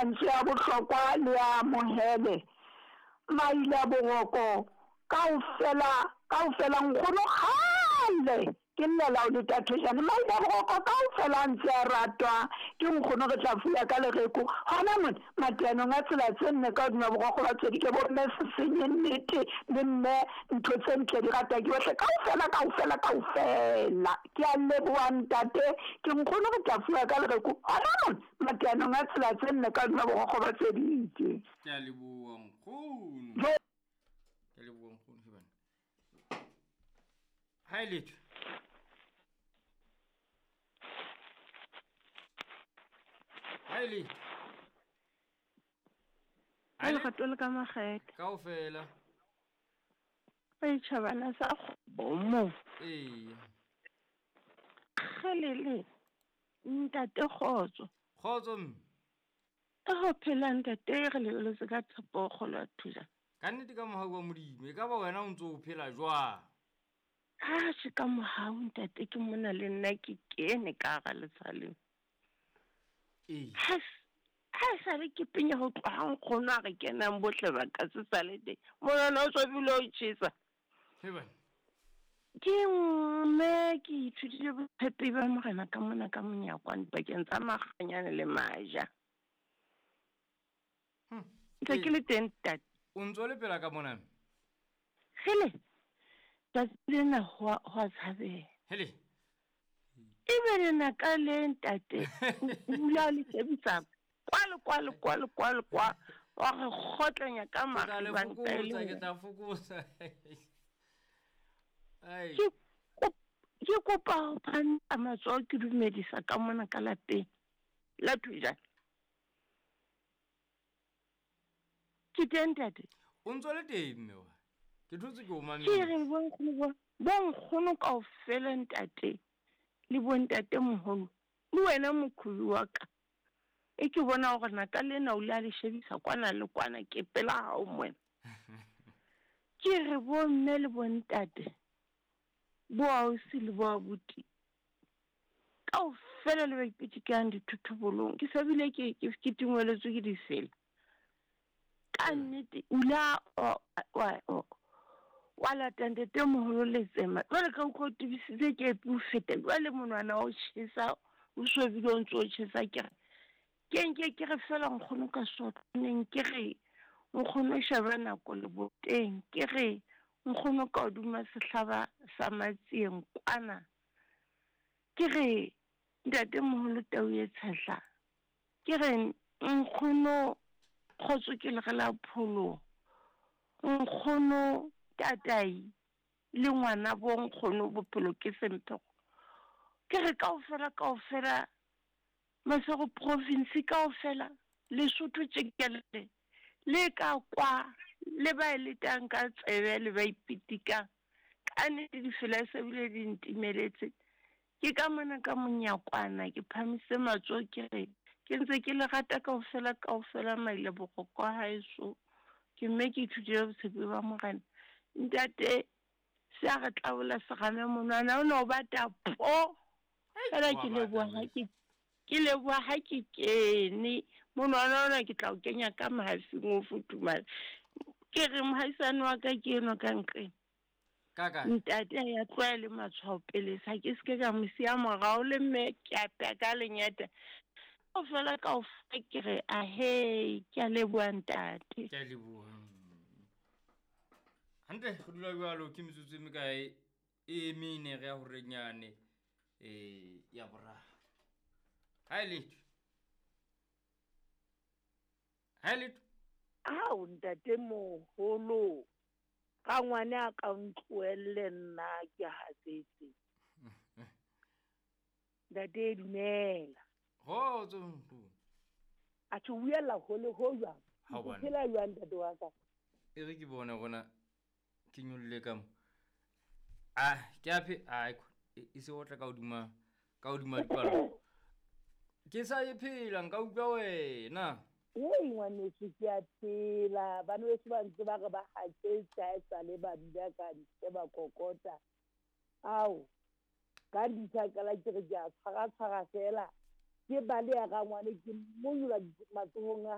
Mantswe a bohlokwa le a amohele. Maila boroko kaofela kaofela nkgono kgale ke llela o leta thojane maila boroko kaofela a ntse a ratwa ke nkgono re tla fuya ka lereko hona mona mateanong a tsela tse nne ka hodima borokgo ba tswedike bo mme se senye nnete le mme ntho tse ntle di ratwa ke bohle kaofela kaofela kaofela ke a leboha ntate ke nkgono re tla fuya ka lereko hona mona Mateanong a tsela tse nne ka hodima bogokgo ba tseditše. Ke a leboa nkgono. Ke a leboa nkgono hebane. Ha e letho. Ha e letho. Ha e lerato le ka makgethe. Kaofela. Re tjhabana sa kgomo. Ee. Kgelele. Ntate kgotso. Kgotso mme. Ka ho phela ntate re lebeletse ka tshepo kgolo ya thusa. Ka nnete ka mohau wa Modimo e ka ba wena o ntse o phela jwang? Ha se ka mohau ntate ke mona le nna ke kene ka hara letsha leo. Ee. Ha ha e sale ke penya ho tloha nkgono a re kenang bohle ba ka se sale teng. Monwana o tswabile o tjhesa. Ke mme ke ithutile botshepehi ba Morena ka mona ka monyakwane pakeng tsa Makganyane le Maja. Ntse ke le teng ntate. O ntse o le pela ka mona? Hele, tsatsi lena ho a tshabeha. Hele. Ebe lenaka le ntate o dula le shebisa kwa le kwa le kwa le kwa le kwa wa re kgotlanya ka maribanta ke tla fokotsa. Ke kopa ho phamisa matsoho ke dumedisa ka mona ka lapeng la Thujane. Ke teng ntate. O ntse o le teng mme wa. Ke thotse ke o mametse. Ke re bonkgono bo bonkgono kaofela ntate le bontate moholo le wena mokhubi wa ka. E ke bona gore naka lena o le a le shebisa kwana le kwana ke pela hao moena. Ke re bomme le bontate bo ausi le bo abuti kaofela le ba ipitikang dithothobolong ke sa bile ke ke tingweletswe ke difela. Ka nnete o ile wa lata ntate moholo letsema jwale ka utlwa o tebisitse kepi o feta jwale monwana wa o tjhesa o swebile o ntse o tjhesa ke re ke nke ke re fela nkgono ka sotlwaneng ke re nkgono sheba nako leboteng ke re nkgono ka hodima sehlaba sa matsieng kwana ke re ntate moholo tau e tshehla Ke re, Nkgono, kgotso ke lere la pholoho. Nkgono, tatai le ngwana bo nkgono bophelo ke semphego. Ke re kaofela kaofela Masego province kaofela Lesotho tšekelele le ka kwa le ba e letang ka tsebe le ba ipitikang ka nnete difela se bile di ntimeletse. Ke ka mona ka monyakwana ke phamisitse matsoho ke re, Ke ntse ke le rata kaofela, kaofela mailebogo kwa haeso. Ke mme ke ithutile botshepi ba Morena. Ntate, se a re tlabola serame monwana o ne o bata po. Fela ke leboha ha ke ke leboha ha ke kene. Monwana ona ke tla o kenya ka mahafing o futhumale. Ke re mohaisane wa ka ke enwa ka nqeng. Ka kae? Ntate a ya tloha le matshwao pele sa ke se ke ka mo siya morao le mme ke a pea ka lenyata. Kaofela kaofela ke re ahee ke a leboha ntate. Ke a leboha. Hantle go dula jalo ke metsotso e mekae e mene re ya gorenyane um ya boraro. Ha e letho. Ha e letho. Ao ntate moholo. Rangwane a ka ntlohelle nna ke hatsetse. Ntate dumela. Kgotso nkgono. A tjho buella hole ho jwang? Ha O bana. phela jwang ntate wa ka? E re ke bone gona ke nyolle ka mo. Ah, ke a phe ai e se otla ka hodima ka hodima dipalo. Ke sa e phela nka utlwa wena. Hei ngwaneso ke a phela. Bana beso ba ntse ba re ba haketse ha e sale ba dula ka ntle ba kokota. Ao, ka ndisa qala ke re ke a tshwara tshwara fela. Ke baleha rangwane ke monyola matsohong a